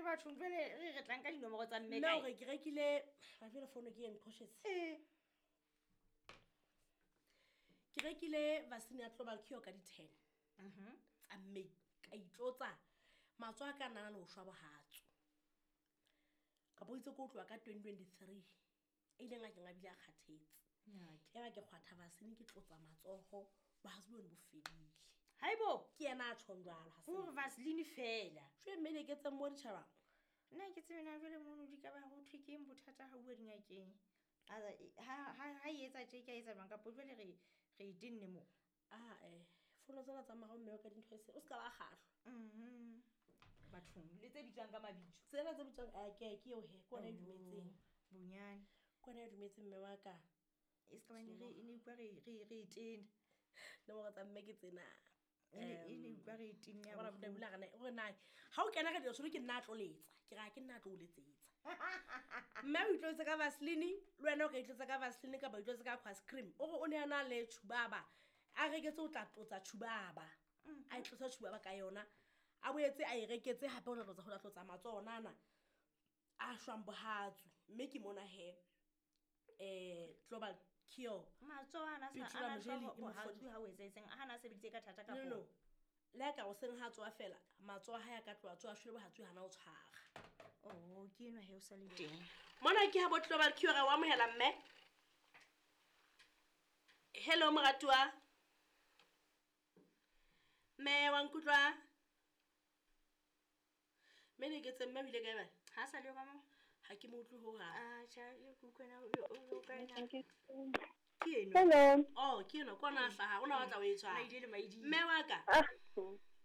bathong jale re re tlang ka dinomoro tsa mme Nna kae? gore ke rekile ga jale fono ke e nqhoshetse. Ee. Ke rekile vaccine ya global cure ka di-10 tsa May, ka itlotsa matsoho a ka a nana le ho shwa bohatsu. Ka bo itse ko tloha ka 2023 e ileng a keng a bile a kgathetse. Ya ba ke kgwatha vaccine ke tlotsa matsoho, bohatsu bone bo fedile. Haibo. Ke yena a tjhong jwalo, ha se Gore nna. Vaseline fela. Jwale mme ne ke etseng mo ditjhabang? Nna ke tsebe na jwale mono di ka ba ho thwe ke eng bothata ha bua dingakeng. Ha e etsa tje, ke a etsa jwang kapo jwale re e tenne mo. Ah, fono tsena tsa morao mme wa ka dintho e se, o ska ba kgahlwa. Bathong, le tse bitswang ka mabitso. Tsena tse bitswang, ke eo he, ke ona e dumetseng. Bonyane. Ke ona e dumetseng mme wa ka. E se ka bane re e ne utlwa re e tena. Nomoro tsa mme ke tsena. E ne utlwa re e tenne ya Bona bohloko. bula re o re na, ha o kena radio solo ke nna a tlo letsa. Ke re ha ke nna a tlo o letsetsa. Mme o itlotse ka Vaseline, le wena o ka itlotsa ka Vaseline kapa o itlotse ka Aqua Cream. O re o ne a na le tshubaba. A reketse o tla tlotsa tshubaba. A itlotsa tshubaba ka yona. A boetse a e reketse hape o tla tlotsa ho tla tlotsa matsoho ona ana a shwang bohatsu. Mme ke mona he, Global Cure. Matsoho ana sa- Petrol ana Mojeli shwa e mo bohatsu fodile. ha o etsahetseng, a hana a sebeditse ka thata No, no, kapo? no. Le ha ka hoseng ha tsoha fela, matsoho a hae a ka tloha tsoha, a shwele bohatsu hana o tshwara. Oh, ke enwa he o sa le teng. Mona ke ha bo Global Cure re o amohela mme. Hello moratuwa. Mme wa nkutlwa? Mme ne ke tse mme o ile kae bana? Ha sa le yo ka mo? Ha ke mo utlwe hohang. Ah, tjha, e ke utlwe na, o kae na? Ke enwa. Hello. Oh, ke enwa, ke ona a hlaha, o na batla ho e tshwara. Maidi le maidi. Mme wa ka? Ah,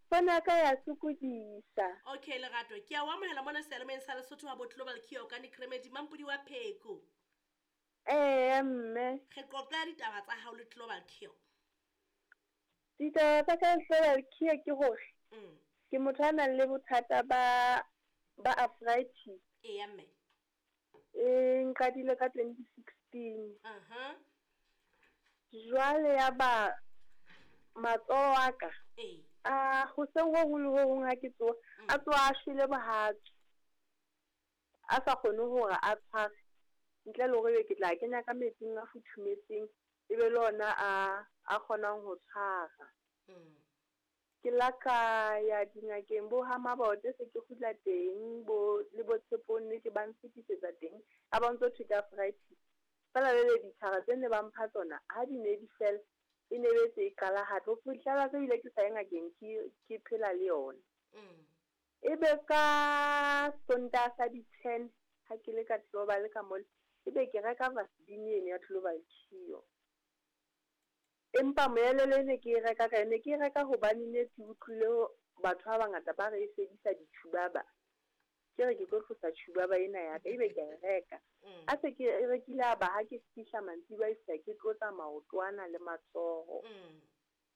fono ya ka ya sokodisa. Okay, Lerato, ke a o amohela mona seyalemoyeng sa Lesotho ha bo Global Cure ka Nick Remedy, Mampodi wa Pheko. Ee, mme. Re qoqa ditaba tsa hao le Global Cure. Ditaba tsa ka le Global Cure ke hore ke motho a nang le bothata ba arthritis. Eya, mme. E nqadile ka 2016. Aha. Jwale ya ba matsoho a ka. Ee. A hoseng ho hong le ho hong ha ke tsoha, a tsoha a shwele bohatsu. A sa kgone hore a tshware ntle le hore ebe ke tla kenya ka metsing a futhumetseng, ebe le ona a kgonang ho tshwara. Ke la ka ya dingakeng bo ha Mabote se ke kgutla teng, bo le bo Tshepong nnete ba nfetisetsa teng, ha ba ntso thwe ke arthritis. Feela jwale ditlhare tse ne ba mpha tsona ha di ne di fela, e ne be se e qala hape. Ho fihlela se bile ke sa ye ngakeng, ke phela le yona. Ebe ka Sontaha sa di-10 ha ke le ka Global ka mole, ebe ke reka Vaseline eno ya Global Cure. Empa moelelo e ne ke e reka ka yona, ne ke e reka hobane ne ke utlwile batho ba bangata ba re e fedisa ditjhubaba. Ke re ke tlo tlosa tjhubaba ena ya ka, ebe ke a e reka. A se ke e rekile a ba ha ke fihla mantsiboya e fihla ke tlotsa maoto ana le matsoho.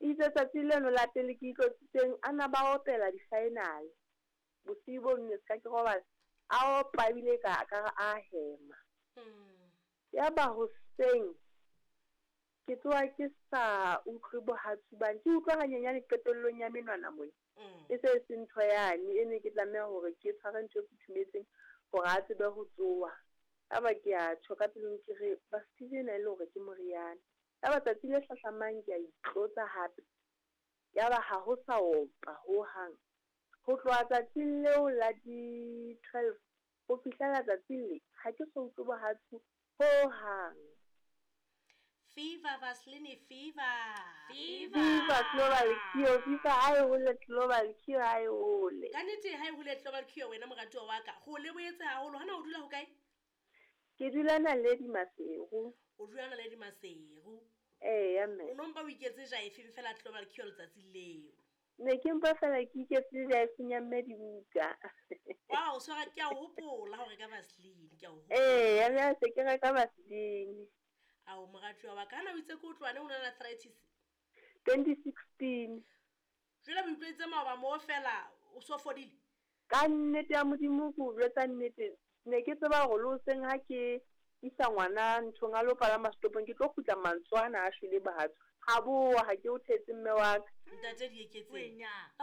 Itse tsatsi leno la pele ke itlotsitseng, a na ba opela di-final. Bosiu bo nne se ka ke robala, a opa ebile ka re a hema. Ya ba hoseng ke tsoha ke sa utlwe bohatsu bane, ke utlwa hanyenyane qetellong ya menwana mona. E se e se ntho yane e ne ke tlameha hore ke tshware ntho e futhumetseng hore a tsebe ho tsoha. Ya ba ke a tjho ka pelong ke re Vaseline ena e le hore ke moriana. Ya ba tsatsi le hlahlamang ke a itlotsa hape. Ya ba ha ho sa opa hohang. Ho tloha tsatsing leo la di-12 ho fihlela tsatsing le, ha ke so utlwe bohatsu hohang. Fever, Vaseline, fever. Fever. Fever, Global Cure, fever ha e hole, Global Cure ha e hole. Ka nnete ha e hole Global Cure wena moratuwa wa ka. Ho le boetse haholo, hana o dula ho kae? Ke dula Naledi Maseru. O dula Naledi Maseru. Eya, mme. O no mpa o iketse jaefeng fela Global Cure letsatsi leo? Ne ke mpa fela ke iketse jaefeng ya mme dibuka. Wow, so ke a o hopola hore ka Vaseline, ke a o hopola. Eya, mme ha se ke reka Vaseline. Ao, moratuwa wa ka, hana o itse ke o tloha neng o na le arthritis? 2016. Jwale o utlwetse maoba moo fela, o so fodile? Ka nnete ya Modimo, ke o jwetsa nnete, ne ke tseba hore le hoseng ha ke isa ngwana nthong a lo palama setopong, ke tlo kgutla mantswe ana a shwele bohatsu. Ha bowa, ha ke o thetse mme wa ka. Ntate Dieketseng. Wena.